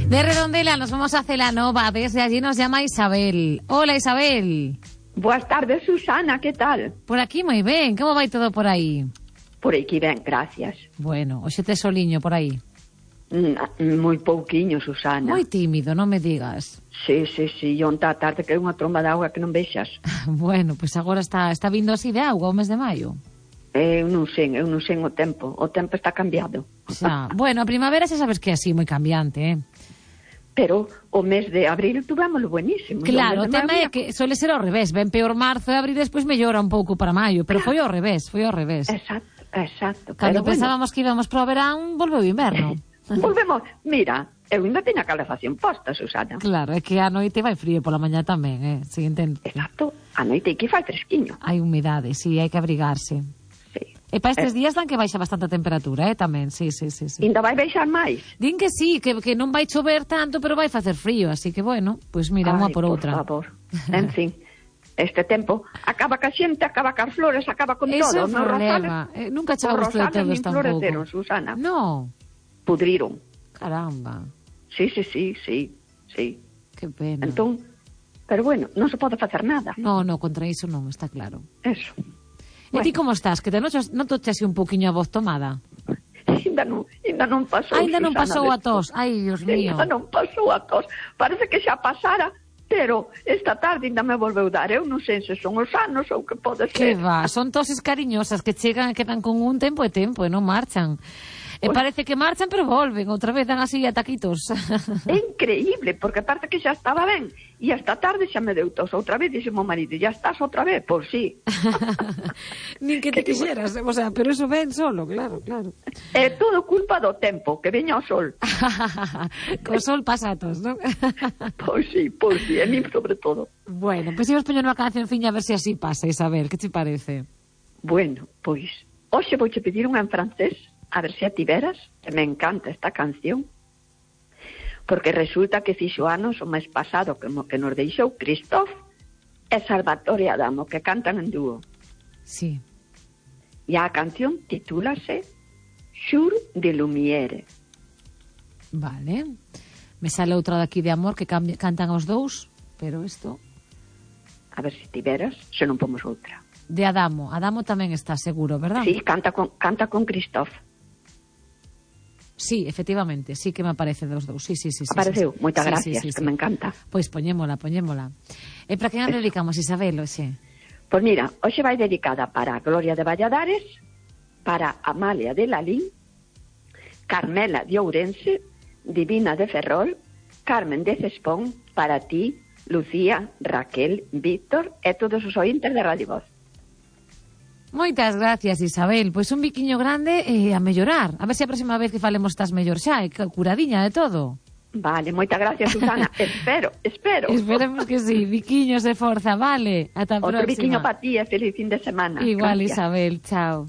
De Redondela nos vamos a Celanova. Desde allí nos llama Isabel. Hola, Isabel. Boas tardes, Susana, que tal? Por aquí moi ben. Como vai todo por aí? Por aquí ben, gracias. Bueno, hoxe tes soliño por aí. Moi pouquiño, Susana. Moi tímido, non me digas. Sí, onta a tarde que é unha tromba de auga que non vexas. Bueno, pois agora está vindo así de auga o mes de maio. Eu non sei o tempo. O tempo está cambiado. Xa. Bueno, a primavera xa sabes que é así, moi cambiante, Pero o mes de abril tuvémolo buenísimo. Claro, o tema é que suele ser ao revés. Ben peor marzo e abril, despois mellora un pouco para maio. Pero foi ao revés. Exacto. Cando pero pensábamos que íbamos para o verán, volveu o inverno. Volvemos. Mira, eu ainda teño a calefacción posta, Susana. Claro, é que a noite vai frío pola mañá tamén, Si entendo. Exacto. A noite que fai fresquiño. Hai humidade, sí, hai que abrigarse. Sí. E para estes días dan que baixa bastante a temperatura, tamén, sí. Ainda vai baixar máis. Din que sí, que non vai chover tanto, pero vai facer frío, así que bueno, pois mira, unha por outra. Por favor, en fin, este tempo acaba ca xente, acaba cas flores, acaba con Eso todo. é o problema, nunca chegamos de todos tampouco. Os rosales Susana. No. Pudriron. Caramba. Sí. Que pena. Entón, pero bueno, non se pode facer nada. No, contra iso non, está claro. Eso. E ti como estás? Que te notoche así un poquinho a voz tomada? Ainda non pasou, Ainda non Susana, pasou a tos. Ai, Dios mío. Ainda non pasou a tos. Parece que xa pasara, pero esta tarde ainda me volveu dar. Eu non sei se son os anos ou que pode ser. Que va, son toses cariñosas que chegan e quedan con un tempo e non marchan. E parece que marchan, pero volven. Outra vez dan así ataquitos. É increíble, porque aparte que xa estaba ben. E esta tarde xa me deu tos outra vez. Dixe mo marido, ya estás outra vez? Pois sí. Nin que te quixeras, o sea, pero eso ven solo, claro. É todo culpa do tempo, que veña o sol. Co sol pasatos, non? Pois sí, a mí sobre todo. Bueno, pois imos poñer unha cancionciña a ver se así pasa, Isabel, que te parece? Bueno, pois, hoxe vouche pedir unha en francés, a ver se a tiveras, que me encanta esta canción, porque resulta que fixo anos o mes pasado que nos deixou Christophe e Salvatore Adamo, que cantan en dúo. Sí. E a canción titúlase Jour de Lumière. Vale. Me sale outra daqui de amor que cantan os dous, pero isto... A ver se tiveras, se non pomos outra. De Adamo. Adamo tamén está seguro, verdad? Sí, canta con Christophe. Sí, efectivamente, sí que me aparece dos dous. Sí. Apareceu, moitas gracias, que me encanta. Pois poñémola. E para quen a dedicamos, Isabel, hoxe? Pois mira, hoxe vai dedicada para Gloria de Valladares, para Amalia de Lalín, Carmela de Ourense, Divina de Ferrol, Carmen de Cespón, para ti, Lucía, Raquel, Víctor e todos os ointes de Radio Voz. Moitas gracias, Isabel. Pois un biquiño grande e a mellorar. A ver se a próxima vez que falemos estás mellor xa, e curadiña de todo. Vale, moitas gracias, Susana. Espero. Esperemos que sí. Biquiños de forza, vale. Ata a próxima. Outro biquiño para ti e feliz fin de semana. Igual, gracias. Isabel. Chao.